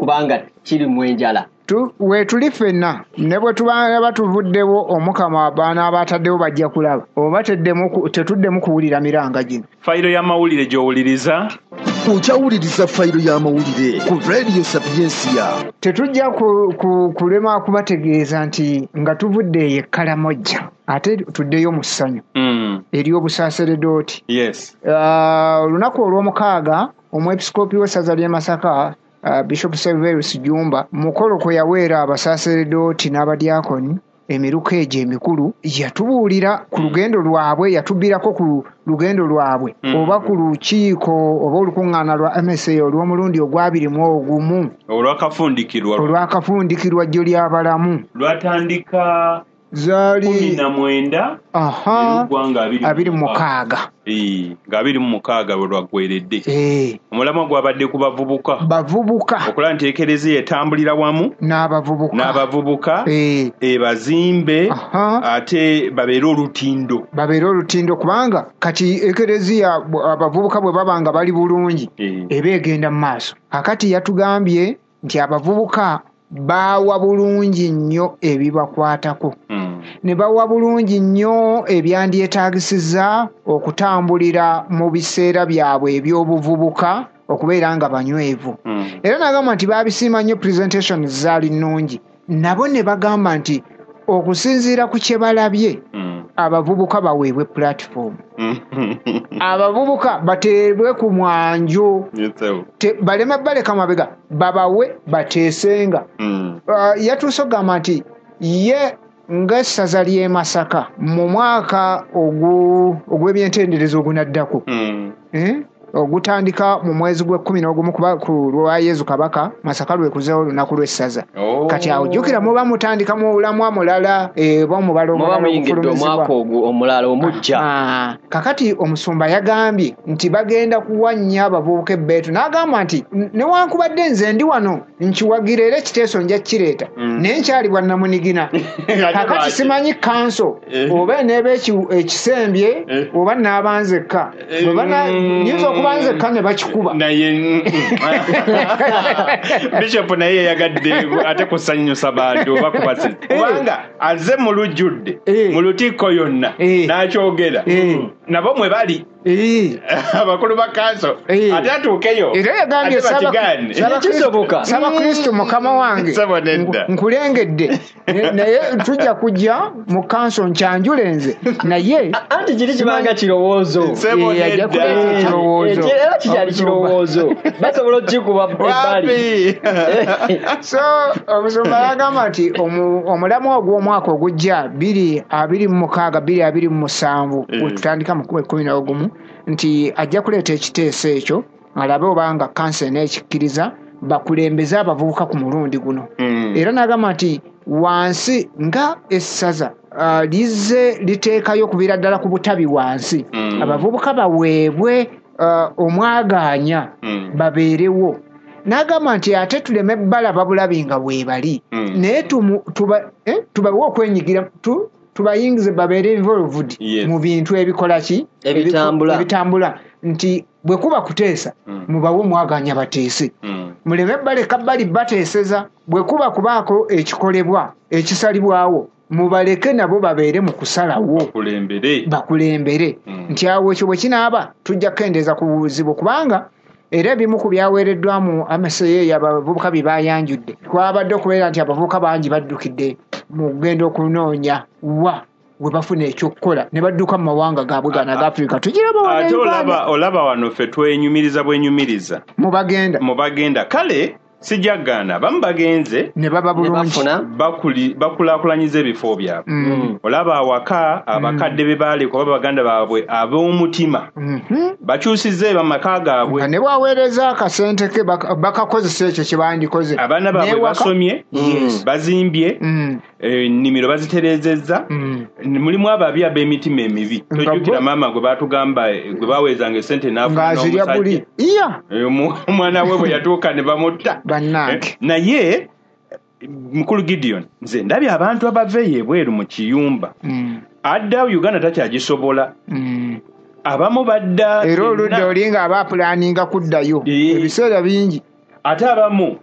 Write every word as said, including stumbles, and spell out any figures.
Kubanga kiri mu enjala. Wetuli ffenna ne bwe tuba batuvuddewo, Omukama abaana abataddewo bajja kulaba oba tetuddemu kuwulira miranga gino. Fayiro y'amawulire gy'owuliriza. Okyawuliriza fayiro y'amawulire ku Radio Sapiensia. Tetujja kulema kubategeeza nti nga tuvudde eyo e Karamoja ate tuddeyo mu ssanyu mm. ery'obusaaseredooti. Yes. Olunaku olw'omukaaga omwepisikoopi w'essaza ly'e Masaka, Uh, Bishop Serverus Jumba, mukolo kwe yaweera abasaaseredooti n'abadiakoni emiruka egyo emikulu, yatubuulira ku lugendo lwabwe, yatubbirako ku lugendo lwabwe mm. oba ku lukiiko oba olukuŋŋaana lwa M S A olw'omulundi ogw'abiri mu ogumu olwakafundikirwa olwakafundikirwa jjo ly'abalamu lwatandika zaali kumi na mwenda abiri mu mukaaga nga abiri mu mukaaga bwe lwaggweredde. Omulamwa gwabadde ku bavubuka bavubuka okulaba nti ekereziya etambulira wamu n'abavubuka n'abavubuka ebazimbe ate babeere olutindo babeere olutindo kubanga kati ekereziya abavubuka bwe baba nga bali bulungi eba egenda mu maaso. Kakati yatugambye nti abavubuka bawa bulungi nnyo ebibakwatako mm. ne bawa bulungi nnyo ebyandyetaagisizza okutambulira mu biseera byabwe eby'obuvubuka okubeera nga banywevu. mm. Era n'agamba nti baabisiima nnyo, presentation zaali nnungi, nabo ne bagamba nti okusinziira ku kye balabye mm. abavubuka baweebwe platform, abavubuka bateebwe ku mwanjo, baleme baleka mabega, babawe bateesenga. mm. Uh, yatuuse okugamba nti ye ng'essaza ly'e Masaka mu mwaka ogw'ebyentenderezo ogunaddako mm. eh? ogutandika mu mwezi gw'ekkumi n'ogumu kuba ku lwa Yezu Kabaka, Masaka lwekuzeewo olunaku lw'essaza. Oh. Kati awo jjukira muba mutandika mu bulamwa mulala, oba omubala omulala omwaka omulala omuggya. Ah, kakati omusumba yagambye nti bagenda kuwa nnyo abavubuka ebbeetu, n'agamba nti newankubadde nze ndi wano nkiwagira era ekiteeso nja kukireeta, mm. naye nkyali bwannamunigina. Kakati simanyi kanso oba eneeba ekisembye oba naaba nzekka, nyinza okuba nzekka ne bakikuba naye. Bishop naye yayagadde ate kusanyusa bantu oba kubasiza, kubanga azze mu lujjudde mu lutikko yonna n'akyogera nabo mwe bali abakulu ba kanso ate atuukeyo era yagambye Ssaabakristo mukama wange nkulengedde, naye tujja kujja mu kanso nkyanjule nze, naye anti kiri kibanga kirowoozo ajja kuleeta ekirowoozo era kikyali kirowoozo basobola okukikuba ebbali. So omusumba yagamba nti omulamwa ogw'omwaka ogujja bbiri abiri mu mukaaga bbiri abiri mu musanvu wetutandika mu kkumi n'ogumu nti ajja kuleeta ekiteeso ekyo alabe obanga kanso eneekikkiriza bakulembeze abavubuka ku mulundi guno. Mm. Era n'agamba nti wansi nga essaza uh, lizze liteekayo okuviira ddala ku butabi wansi, mm. abavubuka baweebwe uh, omwagaanya mm. babeerewo. N'agamba nti ate tuleme balaba bulabi nga bwebali, mm. naye tuba, eh, tubawe okwenyigira tu, tubayingize babeere involved yes. mu bintu ebikola ki ebitambula ebitambula nti bwe kuba kuteesa mm. mubawe omwagaanya bateese, mm. muleme baleka bali bateeseza, bwe kuba kubaako ekikolebwa ekisalibwawo mubaleke nabo babeere mu kusalawo bakulembere, bakulembere. Mm. Nti awo ekyo bwe kinaaba tujja kukendeeza ku buzibu, kubanga era ebimu ku byaweereddwa mu M S A abavubuka bye bayanjudde twabadde okubeera nti abavubuka bangi baddukidde mu kugenda okunoonya wa we bafuna ekyokukola ne badduka mu mawanga gaabwe gano aga Afrika. Tugiraba wano ate Uganda. olaba olaba wano ffe twenyumiriza bwenyumiriza mu bagenda mu bagenda kale sijagaana abamu bagenze ne baba ne bulungi bafuna bakuli bakulaakulanyiza ebifo byabwe. Mm. Olaba awaka abakadde be baaleka oba baganda baabwe ab'omutima Mhm. bakyusizza amaka gaabwe Nga ne bw'aweereza akasente ke baka- bakakozesa ekyo kye bandikoze. Abaana baabwe N'ewaka- basomye, Yes. bazimbye, Mm. ennimiro bazitereezezza. Mm. Mulimu ababi ab'emitima emibi. Nga Tojjukira bo- maama gwe baatugamba gwe baweezanga essente n'afuna ng'azirya n'omusajja. buli iya Eh, omu- omwana we bwe yatuuka ne bamutta. Bannange. Eh, naye mukulu Gideon, nze ndabye abantu abava eyo ebweru mu kiyumba Mm. adda Uganda takyagisobola. Mm. Abamu badda era oludda enna. oli nga aba apulaninga kuddayo Eh. ebiseera bingi. Ate abamu